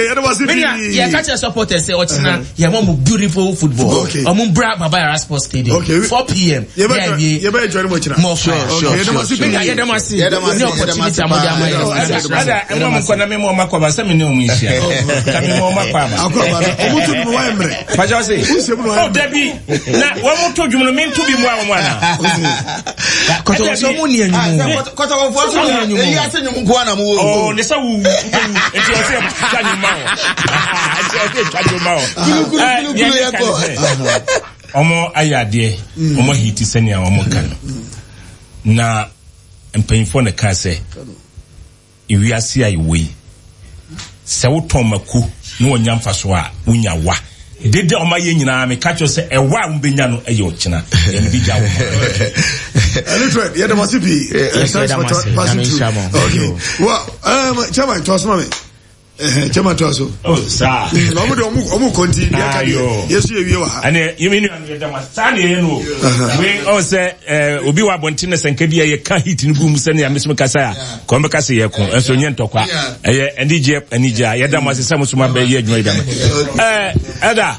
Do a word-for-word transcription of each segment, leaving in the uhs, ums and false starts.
Okay, yɛde wase pii. Yɛ ka kyerɛ supporters sɛ ɔkyena yɛ mɔ mo beautiful football. Ɔmo bra Baba Yara Sports Stadium. Okay. four p m. Yɛ bɛ join mo kyena. More fire. Okay, yɛde wase pii. Yɛde mo ase. Ne opportunity a mo de ama yɛ. Ɛda ɛmo mo nkɔ na mi mo ɔmo akɔ aba sɛ mi ne ɔmo nhyia. Ka mi mo ɔmo akɔ aba. Akɔ aba no, ɔmo to dum wa mmerɛ. Pàṣẹ ɔse. Wusɛ mu na wa Oh, dabi na wɔn mo to dwom no, mi nto bi mu a wɔn ana. Kɔtɔkɔ sɛ ɔmo ni enyim. Kɔtɔkɔfoɔ so eyi ase nwom nko ana mo wɔ. Oh, ne sɛ wu wu nti ɔsɛ twa nwom ma wɔ, nti ɔsɛ twa nwom ma wɔ. Kulukulu kulukulu yɛ kɔ. Ɔmo ayɛ adeɛ, ɔmo ahiti sɛnea ɔmo ka no, na mpanyinfoɔ na kaa sɛ ewiase a yɛwɔ yi, sɛ wotɔn mako na wɔnya mfa so a, wonya wa dede a ɔmo ayɛ nyinaa. Meka kyerɛ sɛ ɛwa a wɔbɛnya no ɛyɛ ɔkyena yɛn bi gya wɔn. Elitred, yɛde mo ase pii. Thanks for passing through. Okay, well, um, chairman, to asoma mi, chairman, to aso. Oh, saa. Na ɔmo de ɔmo ɔmo kɔ nti deɛ ka deɛ yɛsu yɛ wie wɔ ha. Ɛnɛ yɛmi nua no, yɛda mo ase saa na yɛyɛ no o. Wei ɔn sɛ ɛɛ obi wɔ abɔnten na sɛ nka bi a yɛka heat no gu mu sɛnea mesome kasa a kɔn bɛka sɛ yɛko ɛnso nyɛ ntɔkwa, ɛyɛ anigye anigye a yɛda mo ase sɛ mo so ma bɛyɛ adwuma yi dama. Ɛɛ ɛda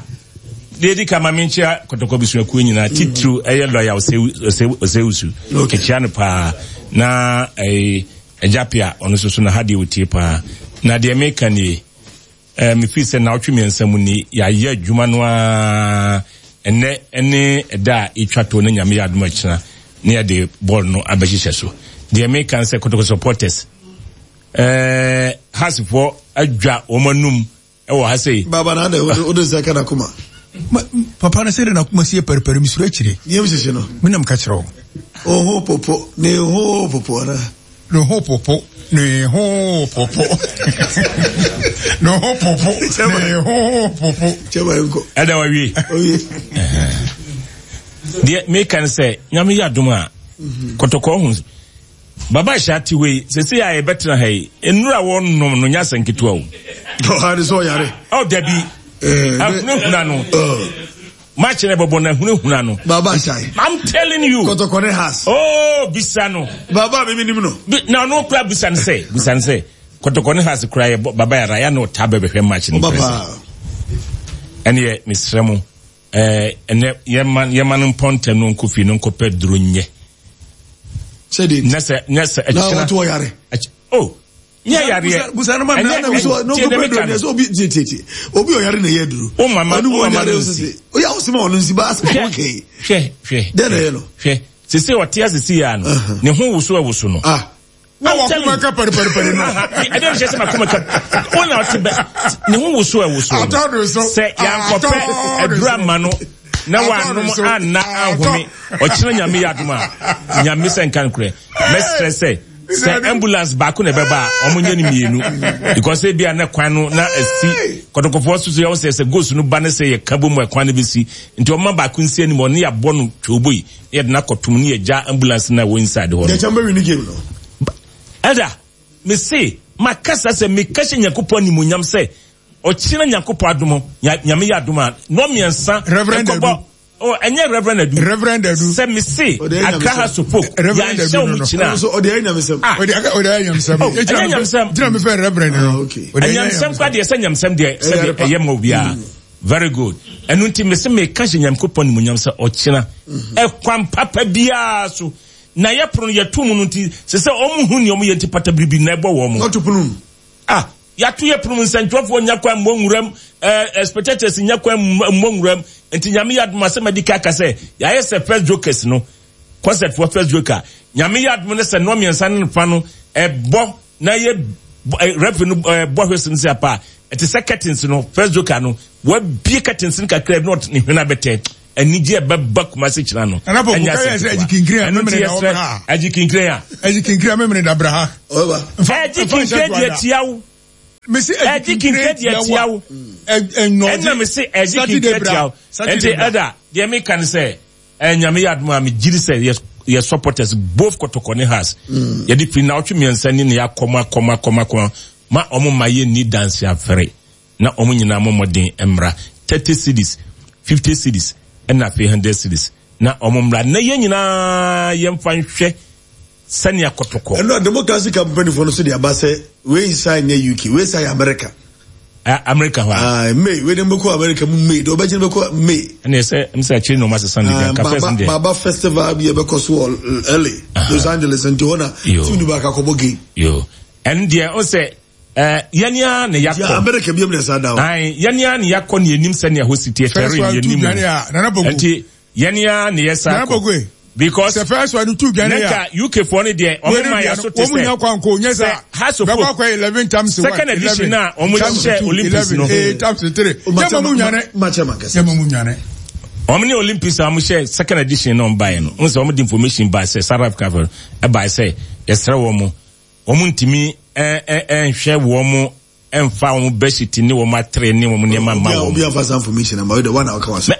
deɛ edi ka ma me nkyia Kɔtɔkɔ busuakuo nyinaa, titiriw ɛyɛ lɔya Osewusu, ɛkyia no paa, na ɛɛ ɛgya pia ɔno nso so na ha deɛ otie paa. Na deɛ meka nie, ɛɛ mefiri sɛ naawɔtwe mmiɛnsa mu ni yɛayɛ adwuma no ara, ɛnɛ ɛne ɛda a ɛtwa to no, Nyame yɛ adom akyina ne yɛde bɔɔl no abɛhyehyɛ so. Deɛ meka sɛ Kɔtɔkɔ supporters, ɛɛ Heartsfoɔ adwa wɔn anum ɛwɔ ha sei. Baba na adɛ o de nsa ka na kuma. Papa no sɛ de nakoma sie pɛrepɛre, mesuro akyire. Yɛm hyehye no. Menam ka kyerɛ wo. Oho popo ne ho popo ana. Ne ho popo, ne ho popo, ne ho popo, ne ho popo. Chairman, nkɔ. Ɛda wawie. Oye. Deɛ meka no sɛ Nyame yɛ adom a, Kɔtɔkɔ ho Baba hyɛ ate hɔ yi sɛsɛ a yɛbɛtena ha yi, nnura wɔnom no nyɛ asɛ nketewa o. Ɔha de sɛ ɔyare. Ɔ dabi, ahunahuna no match na ɛbɛbɔ no, ahunahuna no. Baba Hyai. I'm telling you. Kɔtɔkɔ ne Hearts. Oh, bisa no. Baba mi mi nim no. Bi, na ɔno kura, bisa no sɛ bisa no sɛ Kɔtɔkɔ ne Hearts kura yɛ Baba Yara ya na ɔta bɛbɛhwɛ match no. Ɔba pɛsɛ paa. Ɛneɛ mesrɛ mo, ɛɛ ɛnɛ yɛma yɛma no mpɔntɛm no nkɔ fie no nkɔpɛ duro nyɛ. Sɛde. Nyɛ sɛ nyɛ sɛ Na ɛkyina ɔto ɔyare. ɛky oh, nyɛ yareɛ. Busa no ma Ɛnyɛ- Na so no tie ko deɛ pɛ meka duro no. sɛ obi tie tie tie, obi ɔyare na ɛyɛ duro. Wo mama- ɔno wo wɔn mama yare no sisi nsi. oyɛ awosema ɔno nsi ba asɛ okay. Hwɛ, hwɛ. Dɛn na ɛyɛ no? Hwɛ, sese ɔte asese yi ano ne ho woso ɛwoso no. Ah. Na wakoma ka pɛrepɛrepɛre no. Ɛdɛ nhyɛ sɛ makoma ka wo na ɔte bɛ ne ho woso ɛwoso no. Atɔ no so. Sɛ yankɔpɛ Atɔ no aduru so. ama no na Atɔ wanom no so. anna ahome ɔkyerɛ, Nyame yɛ adom a, Nyame sɛ nka nokorɛ, mɛsrɛ sɛ sɛ ambulance baako na ɛbɛba a, ɔmo nyɛ no mmienu, because ebi a na kwan no na asi Kɔtɔkɔfoɔ so so yɛwɔ sɛ sɛ goals no ba ne sɛ yɛka bɔ mu a, kwan no bɛsi, nti ɔma baako nsi anim, ɔne yɛabɔ no twɛwbo yi na yɛde no akɔtom ne yɛgya ambulance no a ɛwɔ inside hɔ no. Deɛ kyɛn bɛ win game no. Ɛda mese makasa sɛ meka hyɛ Nyankopɔn animonyam sɛ ɔkyena Nyankopɔn adom, Nyame yɛ adom a, nɔ mmiɛnsa Reverend ɛkɔbɔ Adu. Oh, ɛnyɛ Reverend Adu. Reverend Adu. Sɛ mese Ɔde ɛyɛ Accra nyamesɛm. Hearts of Oak Reverend yɛanhyɛ Adu wɔn no no. kyina Ɔno nso ɔde ɛyɛ nyamesɛm. Ah. Ɔde ɔde ayɛ nyamsɛm. Oh, ɛnyɛ nyamsɛm. Gyina mi fɛ Reverend no. Ah, okay. Ɔde ɛyɛ Ɛnyamsɛm kora deɛ, sɛ nyamsɛm deɛ, sɛdeɛ Ɛyɛ ɛyɛ ma obiara, very good. Ɛno nti mese meka hyɛ Nyankopɔn nimonyam sɛ ɔkyena ɛkwan papa biara so na yɛpono no yɛto mu no, nti sɛ sɛ ɔmo hu nea ɔmo yɛ nti pata biribi na ɛbɔ wɔn mo. Ɔto pono mu. Ah, yɛato yɛ pono mu, nsɛntwerɛfoɔ nya kwan mmɔ nwuram, ɛɛ spectators nya kwan mmɔ nwuram, nti Nyame yɛ adom asɛm adi ka ka sɛ yɛayɛ sɛ first jokers no, concert for first joker. Nyame yɛ adom no sɛ nnɔ mmiɛnsa ne fa no ɛbɔ na yɛ referee no bɔ hwɛ no sɛ apa ɛte sɛ curtains no, first joker no wabie curtains no kakra bi na ɔte ne hwene abɛtɛ, anigye ɛbɛba Kumase kyerɛ no. Ɛnyɛ asɛ ketewa. Ɛno nti yɛsrɛ agye kinkire a agye kinkire a memene dabra ha. Agye kinkire deɛ tia wo, ɛgye kinkire deɛ tia wo, ɛnna me se ɛgye kinkire tia wo. Nti ɛda deɛ meka ne sɛ ɛnyame yɛ adom a, megyiri sɛ yɛ yɛ supporters, both Kɔtɔkɔ ne Hearts, yɛde firi na ɔtwe mmiɛnsa ni na yɛakɔm akɔm akɔm akɔm ma ɔmo ma yɛ ni danse afɛre na ɔmo nyinaa mo mmɔden mmra, thirty cedis, fifty cedis, ɛna afei hundred cedis, na ɔmo mmra na yɛn nyinaa yɛmfa nhwɛ sɛnea Kɔtɔkɔ. Ɛno a democracy company fo no so de aba sɛ wei nsa nyɛ U K, wei nsa yɛ America. America hɔ a. May wei de mbɛkɔ America mu May de ɔbɛgye no bɛkɔ May. Ɛna ɛsɛ ɛsɛ akyire na ɔmo asesa ne deɛ nka first deɛ. Baba festival bi ɛbɛkɔ so wɔ L A, Los Angeles, nti hɔ na team no baaka akɔbɔ game. Yo, ɛn deɛ ɔsɛ ɛɛ yɛnea na yakɔ. America bi mu na ɛsa da hɔ. Ayi, yɛnea na yakɔ ne yɛnim sɛ nea hɔ si teɛ tɛre ne yɛnim. Nti yɛnea na yɛsa kɔ. Because the first one two Ghana nka U K foɔ no deɛ ɔmo ma yɛ so te sɛ sɛ House of Folk eleven times one second edition na ɔmo hyɛ Olympics no eight times three yɛ mo nwane yɛ mo nwane ɔmo ne Olympics a ɔmo hyɛ second edition na ɔmo ba yɛ no ɔmo sɛ ɔmo de information ba sɛ South Africa fɛ ɛba sɛ yɛsrɛ wɔn mo ɔmo ntumi ɛ ɛ ɛnhwɛ wɔn mo ɛnfa wɔn bedsheet ne wɔn atere ne wɔn nneɛma ma wɔn. Obi anfa san information ama ɔyɛ de wɔn na ɔka wa so.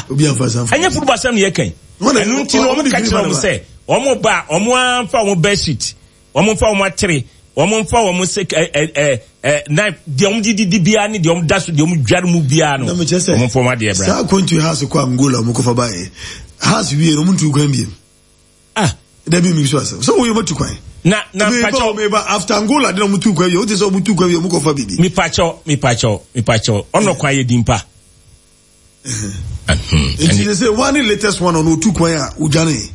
Obi anfa san. Ɛnyɛ football asɛm na yɛ kɛn. Ɛnu nti na wɔn ka kyerɛ wɔn sɛ wɔn ba wɔn anfa wɔn bedsheet, wɔn nfa wɔn atere, wɔn nfa wɔn se ɛ ɛ ɛ ɛ knife deɛ wɔn didi di biara ne deɛ wɔn da so deɛ wɔn dware mu biara no. Wɔn nfa wɔn adeɛ bra. Saa akwantu house kɔ Angola wɔn kɔfa ba yɛ house wie no wɔn ntu kwan biem. Ah, dabi mi so asɛm sɛ wɔn yɛ wɔn tu kwan. Na na mpakyɛw meba after Angola de na wɔn tu kwan wie o ti sɛ wɔn tu kwan wie wɔn kɔfa bibi. Mipakyɛw mipakyɛw mipakyɛw ɔnɔ kwan yɛ di mpa. Nti sɛ sɛ one latest one ɔno otu kwan a odwane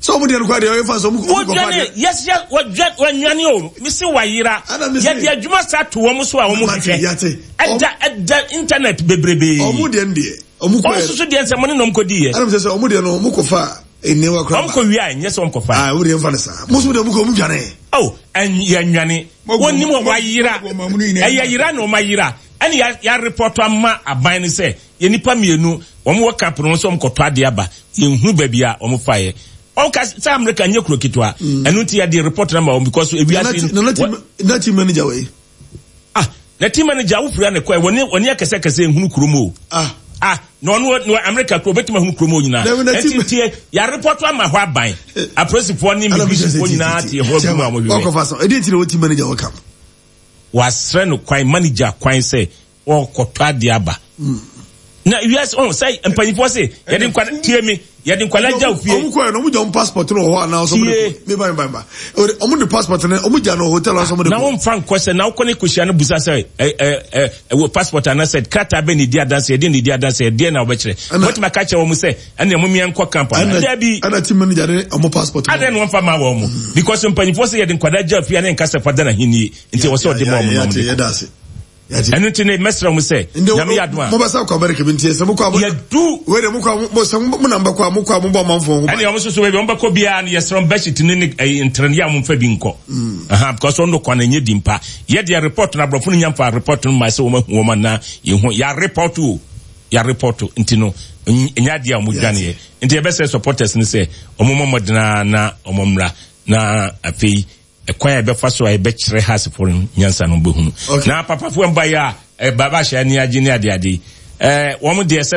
sɛ ɔmo deɛ no kwan deɛ ɔyɛ fa sɛ ɔmo kɔ wɔdwane yes yes wɔdwane wɔnwane o misi wayera yɛde adwuma sa to wɔn so a wɔn hwehwɛ ɛda ɛda internet bebrebe. Ɔmo deɛ no deɛ ɔmo kɔ yɛ ɔmo soso deɛ nsɛm ne na ɔmo kɔ di yɛ. Ɛna mi sɛ sɛ ɔmo deɛ no ɔmo kɔ fa nneɛma kora ba. Ɔmo kɔ wia nyɛ sɛ ɔmo kɔ fa. Aa ɔmo deɛ nfa ne saa mo so deɛ ɔmo kɔ ɔmo dwane. Oh, yɛ nwane wɔn nim wɔn wayera ɛyɛ yera na ɔmo ayera. Ɛne ya ya report ama aban ne sɛ yɛ nipa mmienu wɔn wɔ camp no nso wɔn kɔtɔ adeɛ aba yɛn hu baabi a wɔn fa yɛ wɔn ka sɛ America nyɛ kuro ketewa ɛnu ti yɛ de report na ma wɔn because ewi ase no na team manager wɔ yi ah na team manager awofiri ne kɔ wɔn wɔn akɛse akɛse ehunu kurom o ah ah na ɔno no America kuro obetuma ehunu kurom o nyinaa ɛnti tie yɛ report ama hɔ aban apolisifoɔ ne immigration nyinaa tie hɔ gu mu a wɔn hwehwɛ ɔkɔfa so ɛdi ti na wɔ team manager wɔ camp. Wasrɛ no kwan manager kwan sɛ ɔkɔtɔ adeɛ aba na wiase ɔn sɛ mpanyinfoɔ se yɛde nkwa tie mi yɛde nkwadaa gya ofie. Ɔmo kɔ yɛ no ɔmo gya ɔmo passport no wɔ hɔ anaa ɔmo de mi ba mi ba mi ba ɔmo de passport no ɔmo gya no hotel ɔmo de kɔ. Na wɔn fa nkɔ sɛ na ɔkɔ ne kɔhyia no busa sɛ ɛ ɛ ɛ ɛwɔ passport anasɛ krataa bɛ ne di adanse ɛdeɛ ne di adanse ɛdeɛ na ɔbɛkyerɛ wɔtuma ka kyerɛ wɔn sɛ ɛna ɛmo mìíràn nkɔ camp ana dɛbi. Ɛna team manager de ɔmo passport. Adan na wɔn fa ma wɔn mo because mpanyinfoɔ sɛ yɛde nkwadaa gya ofie ne nkasa fa da na hinnie nti wɔsɛ ɔde ma wɔn na wɔn de kɔ. Ɛno nti ne mɛsrɛ mo sɛ nyame yɛ adom a mobɛsa kɔ America bi nti sɛ mokɔ a yɛdu wei de mokɔ a mo sɛ mo nam bɛkɔ a mokɔ a mobɔ amanfoɔ ho ban ɛne ɔmo soso baabi ɔmo bɛkɔ biara no yɛsrɛ mo bedsheet ne ne ntrɛne yɛ a momfa bi nkɔ aha because ɔno kwan ɛnyɛ di mpa yɛ deɛ report no aborɔfo no nya mfa report no ma sɛ wɔn ahu wɔn anaa yɛhu yɛ report o yɛ report nti no ɛnyɛ adeɛ a wɔn dwaneɛ nti yɛbɛsɛ supporters no sɛ wɔn mmɔ mmɔdena na wɔn mmra na afei ɛkwan a ɛbɛfa so a ɛbɛkyerɛ hasefo no nyansa no bɛhunu na papafoɔ mba yi a baba ahyɛ ani agye ne adeade ɛɛ wɔn deɛ sɛ